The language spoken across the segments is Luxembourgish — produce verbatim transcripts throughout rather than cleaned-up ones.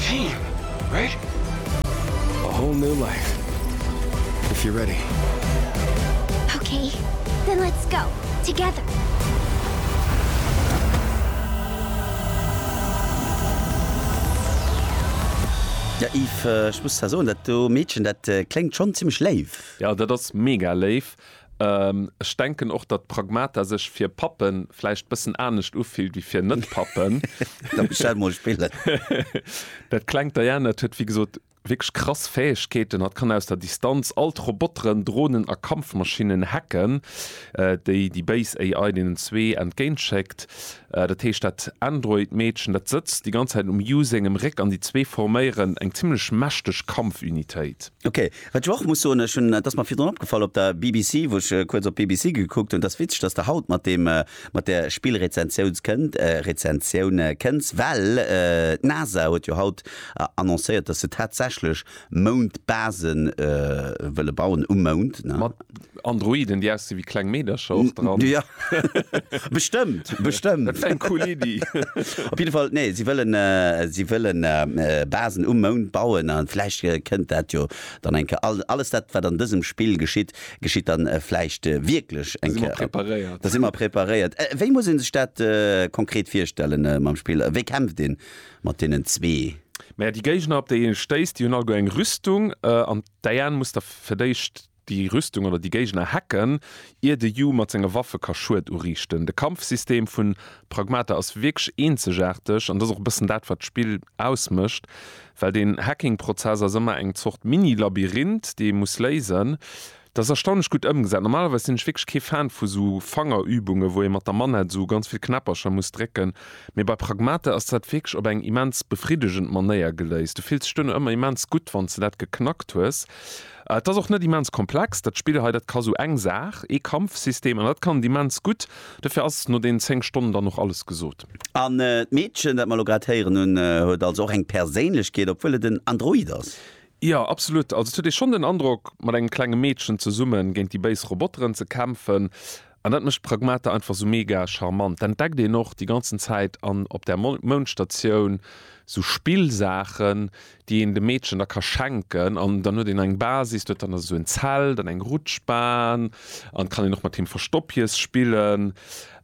team, right? A whole new life. If you're ready. Okay, then let's go. Together. Ja Yves, ech muss zwar soen, dat do Meedchen, dat kléngt schonn zimmlech léif. Ja, dat ass mega léif. Ech denken och, datt Pragmata sech fir Pappen vläicht bëssen anescht ufillt wéi fir Net-Pappen. Da muss ech dat mol spillen. Dat klengt Diane, dat huet wéi gesot wierklech krass Fäegkeeten. Hatt kann aus der Distanz all d'Roboteren, Dronen a Kampfmaschinnen hacken, déi déi béis A I deenen zwee entgéintschéckt. Dat heescht, dat Android-Meedchen, dat sëtzt déi ganz Zäit um Yu sengem Réck an déi zwee forméieren eng zimmlech mächteg Kampfunitéit. Ok, wat ech och muss soen, ech hunn, et ass mer virdrun opgefall op der B B C, wou ech kuerz op B B C gekuckt hunn, et ass witzeg, dass de haut mat deem, mat där Spillrezensiouns kënnt, Rezensioun kënns, well d'NASA huet jo haut annoncéiert, dass se tatsächlech Moundbasen wëlle bauen um Mound, ne? Mat Androiden, déi ausgesi wéi kleng Meedercher och dran. Jo, bestëmmt, bestëmmt. Dat wär eng cool Iddi. Op jidde Fall, nee, si wëllen, si wëllen Basen um Mound bauen a vläicht kënnt dat jo dann eng Kéier. Alles dat, wat an dësem Spill geschitt, geschitt dann vläicht wierklech eng Kéier. Da si mer Kéier. Preparéiert. Da si mer preparéiert. Wéi muss ee sech dat konkret virstellen mam Spill? Wéi kämpft een mat deenen zwee? Maja, déi Géigner, op déi ee stéisst, déi hunn alleguer eng Rüstung an d'Diane muss da fir d'éischt déi Rüstung oder déi Géigner hacken, ier de Yu mat senge Waffe ka Schued uriichten. De Kampfsystem vu Pragmata ass wierklech eenzegaarteg an dat ass och e bëssen dat, wat d'Spill ausmécht, well deen Hacking-Prozess ass ëmmer eng Zort Mini-Labyrinth, dee ee muss léisen. Dat ass erstaunlech gutt ëmgesat. Normalerweis sinn ech wierklech kee Fan vu sou Fangerübungen, wou ee mat der Manett sou ganz vill Knäppercher muss drécken, mee bei Pragmata ass dat wierklech op eng immens befriddegend Manéier geléist. Du fills dech duerno ëmmer immens gutt, wann s de dat geknackt hues. Et ass och net immens komplex, dat Spill hei, dat ka sou eng Saach, ee Kampfsystem, an dat kann et immens gutt. Dofir ass no deenen zéng Stonnen dann och alles gesot. An d'Meedchen, dat mer elo grad héieren hunn, huet also och eng Perséinlechkeet, obwuel et en Android ass. Jo, absolut. Also et huet ee schonn den Androck, mat engem klenge Meedchen zesumme géint déi béis Roboteren ze kämpfen. An dat mécht Pragmata einfach sou mega charmant. Dat entdeckt een och déi ganzen Zäit an op där Moundstatioun sou Spillsaachen, déi een dem Meedchen da ka schenken. An dann huet een eng Basis, do huet dann esou en Zelt an eng Rutschbahn an kann een och mat him Verstoppjes spillen.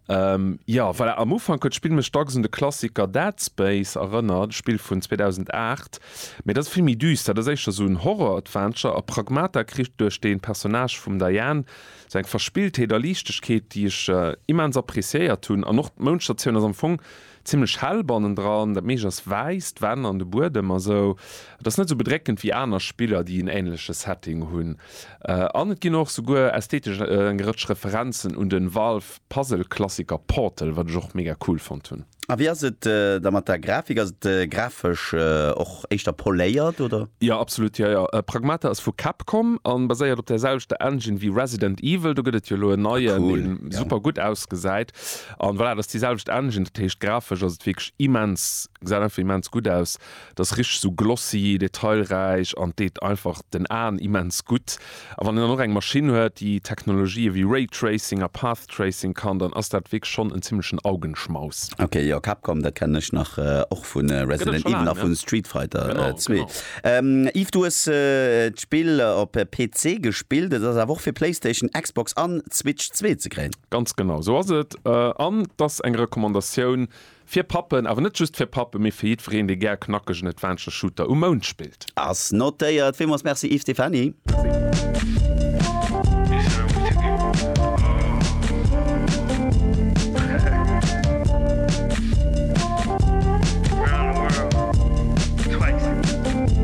Jo, voilà, am Ufank huet d'Spill mech dacks un de Klassiker Dead Space erënnert, e Spill vun zweedausendaacht, mee dat ass vill méi düster, dat ass éischter sou en Horror-Adventure a Pragmata kritt duerch dee Personnage vum Diane sou eng Verspilltheet a Liichtegkeet, déi ech immens appreciéiert hunn. An och d'Moundstatioun ass am Fong zimlech hell bannendran, dat meescht ass wäiss, d'Wänn an de Buedem a sou. Et ass net sou bedréckend wéi aner Spiller, déi en änleche Setting hunn. An et ginn och souguer ästhetesch eng Rëtsch Referenzen un de Valve-Puzzle-Klassiker Portal, wat ech och mega cool fonnt hunn. A wéi ass et da mat der Grafik? Ass et grafesch och éischter poléiert, oder? Jo, absolut, jo, jo. Pragmata ass vu Capcom an baséiert op der selwechter Engine wéi Resident Evil. Do gëtt et jo elo en neien, deen super gutt ausgesäit. An voilà, dat ass déi selwecht Engine, dat heescht grafesch ass et wierklech immens, gesäit einfach immens gutt aus. Et ass richteg sou glossy, detailräich an deet einfach den Aen immens gutt. A wann een dann och eng Maschinn huet, déi Technologië wéi Ray Tracing a Path Tracing kann, dann ass dat wierklech schonn en zimmlechen Augenschmaus. Ok, jo, Capcom, dat kennen ech nach och vu Resident Evil a vu Street Fighter zwee. Yves, du hues d'Spill op P C gespillt, et ass awer och fir PlayStation, Xbox an Switch zwee ze kréien. Ganz genau sou ass et. An et ass eng Recommandatioun fir Pappen, awer net just fir Pappen, mee fir jiddwereen, dee gär knackegen Adventure-Shooter um Mound spillt. Ass notéiert. Villmools Merci Yves Stephany. Merci.